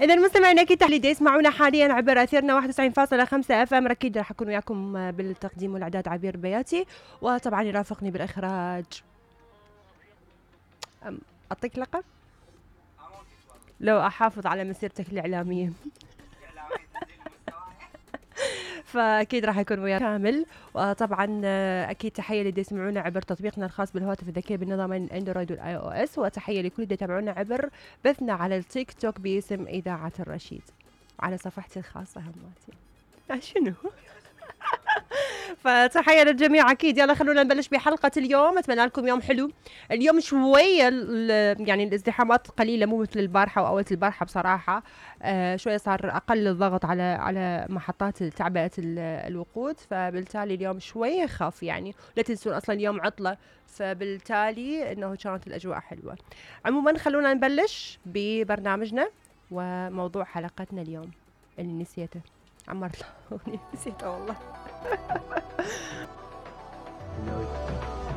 إذا المستمعين أكيد تحليل يسمعونا حاليا عبر أثيرنا 91.5 اف ام. أكيد راح أكون وياكم بالتقديم والإعداد عبير بياتي، وطبعا يرافقني بالإخراج أعطيك لقب لو أحافظ على مسيرتك الإعلامية. فأكيد راح يكون وياك كامل. وطبعا أكيد تحية اللي يسمعونا عبر تطبيقنا الخاص بالهواتف الذكية بالنظامين الأندرويد والآي أو إس، وتحية لكل اللي يتابعونا عبر بثنا على التيك توك باسم إذاعة الرشيد، على صفحتي الخاصة هماتي. شنو؟ فتحية للجميع أكيد. يلا خلونا نبلش بحلقة اليوم. أتمنى لكم يوم حلو. اليوم شوية يعني الازدحامات قليلة، مو مثل البارحة وأول البارحة بصراحة. شوية صار أقل الضغط على محطات تعبئة الوقود، فبالتالي اليوم شوية خف يعني. لا تنسون أصلا اليوم عطلة، فبالتالي إنه كانت الأجواء حلوة. عموما خلونا نبلش ببرنامجنا وموضوع حلقتنا اليوم اللي نسيته. عمرت نسيته والله.